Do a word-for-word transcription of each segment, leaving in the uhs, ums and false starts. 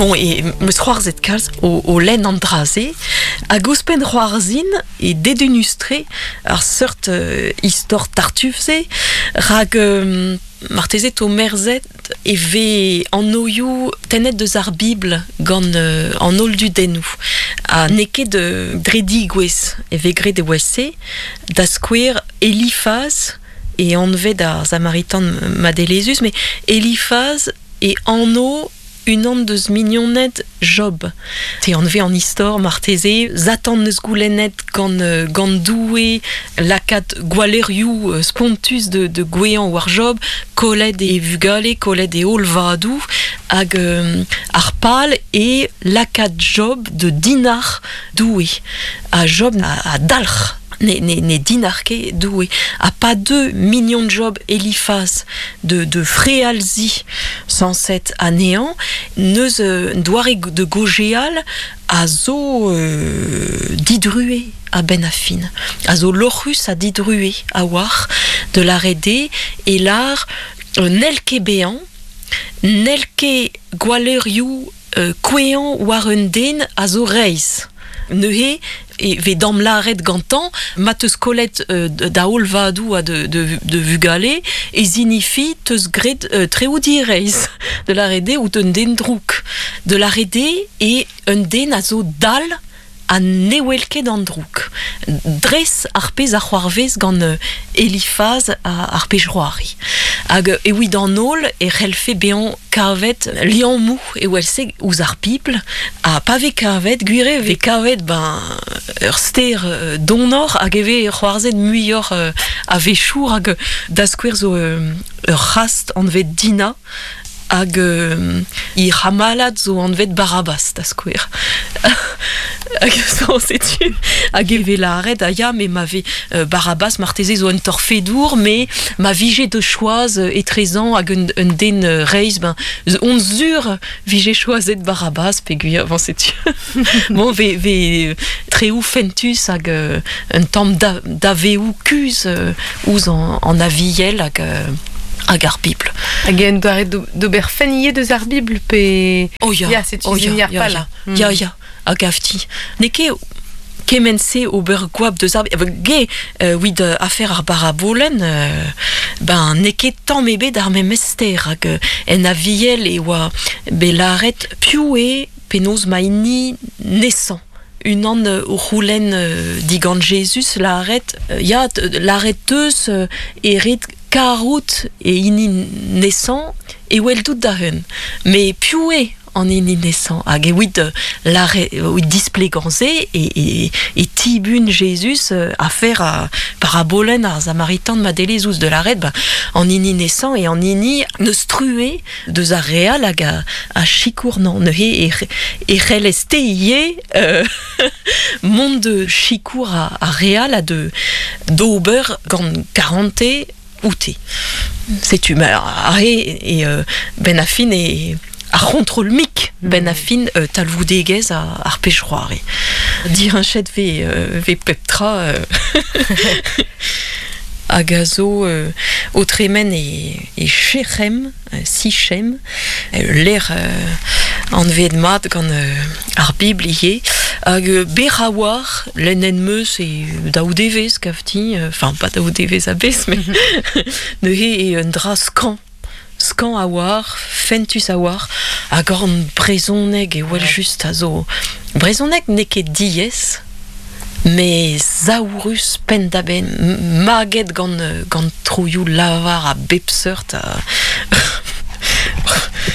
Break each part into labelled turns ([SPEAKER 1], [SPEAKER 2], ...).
[SPEAKER 1] Bon, e meus c'hoarzet kalz o, o lenn an dra-se, hag ouzhpenn c'hoarzhin e dedennus-tre ar seurt euh, istor tartuffe-se, rak euh, marteze to merzet e ve an oioù tennet deus ar Bibl gant euh, an holl dudennoù. Ha n'eo ket euh, dre digouez e ve graet e oa-se, da skouer Elifaz e anvet ar Samaritan madelezus, met Elifaz e anv unan deus mignoned Job. Te anve an istor marteze, Satan neus goulennet gant, euh, gant Doue lakaat gwalleurioù euh, spontus de, de goueañ war Job, kollet e vugale, kollet e holl vadoù, hag euh, ar pal e lakaat Job de dinac'h Doue. Ha Job a, a dalc'h ne, ne, ne dinac'h ket Doue. Ha pa deu mignon Job Elifaz de, de frealzi sañset anezhañ, neus euh, doare de gojeal a zo euh, didrue a ben a fin. A zo lorc'hus ha didrue a war de lâret e lar euh, n'hell ket bezañ, n'hell ket gwalleurioù euh, kouezhañ war un den a zo reizh. Neuze e ve dam lâret gantañ ma teus kollet euh, da holl vadoù ha de, de, de vugale e zinifi teus graet euh, treoù direizh de lâret eo out un den drouk. De lâret eo e un den a zo dall ha ne wel ket an drouk. Dres ar pezh a c'hoarvez gant euh, Elifaz a, ar pezh c'hoari. Hag e evit an holl e c'hellfe bezañ kavet liammoù e wel-se ouzh ar Bibl ha pa vez kavet, gwir eo vez kavet ben ur ster euh, donoc'h hag e vez c'hoarzhet muioc'h euh, a-wechoù hag da skouer zo euh, ur c'hast anvet Dina hag euh, he c'hamalad zo anvet Barabas da skouer. Hag zo setu hag e vez lâret a ya me ma vez euh, Barabas marteze zo un torfedour mais ma vije de choaz euh, etrezañ hag un, un den euh, reizh ben on zur vije choazet Barabas peogwir bon setu bon ve ve treoù fentus hag euh, un tamm da, daveoù kuzh euh, ouzh an, an aviel hag euh, hag ar Bibl.
[SPEAKER 2] Hag en doare d'ober fent ivez deus ar Bibl pe...
[SPEAKER 1] Oh ya,
[SPEAKER 2] Ya, setu
[SPEAKER 1] oh ya,
[SPEAKER 2] zin ar
[SPEAKER 1] ya,
[SPEAKER 2] pal.
[SPEAKER 1] ya, ya, ya, a gavti. N'eo ket kement-se ober goap deus ar Bibl. Ge, euh, evit euh, afer ar barabolenn, euh, ben n'eo ket tamm ebet ar memes ster hag euh, en aviel e oa bet lâret piv eo penaos ma hini nesañ. Unan euh, o c'houlenn euh, digant Jezuz lâret, euh, ya, lâret teus euh, e ret karout e hini nesañ e weldout da hun. Mais piv eo an hini nesañ hag evit euh, lâret evit displegañ se e, e, e tibun Jezuz euh, afer a parabolenn ar Samaritan madelezhus de lâret ben, an hini nesañ e an hini neus truez deus ar re all hag a, a sikour nan neuze e, e c'hellez te ivez euh, mont de sikour a, a re all ha de d'ober gant karantez oute. Setu ma ar e, e euh, ben a fin e ar c'hontrol mik ben a fin euh, talvoudegezh a, ar pezh c'hoari. Direñchet ve, euh, ve pep tra euh, hag a zo euh, o tremen e, e Shechem, euh, Sichem, euh, lec'h euh, anvet mat gant euh, ar Bibl ivez, hag euh, berr a-walc'h lennet 'm eus e daou devezh kavti, enfin pas daou devezh a-bezh, met neuze e un dra skañv. Skañv a-walc'h, fentus a-walc'h, hag an brezhoneg e wel just a zo. Brezhoneg n'eo ket diaes, met saourus penn-da-benn, maget gant, gant troioù lavar a bep seurt. A...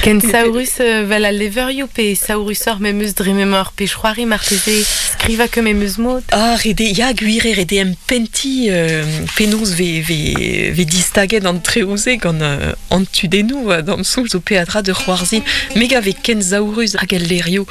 [SPEAKER 2] Ken saourus euh, vel al levrioù pe saourusoc'h memes dre m'emañ ur pezh c'hoari marteze skrivañ ket memes mod.
[SPEAKER 1] Ah, ret eo, ya gwir eo ret eo empentiñ euh, penaos ve, ve, ve distaget an treoù-se gant euh, an tudennoù d'am soñj zo peadra de c'hoarzhin. Me gav eo ken saourus hag al levrioù.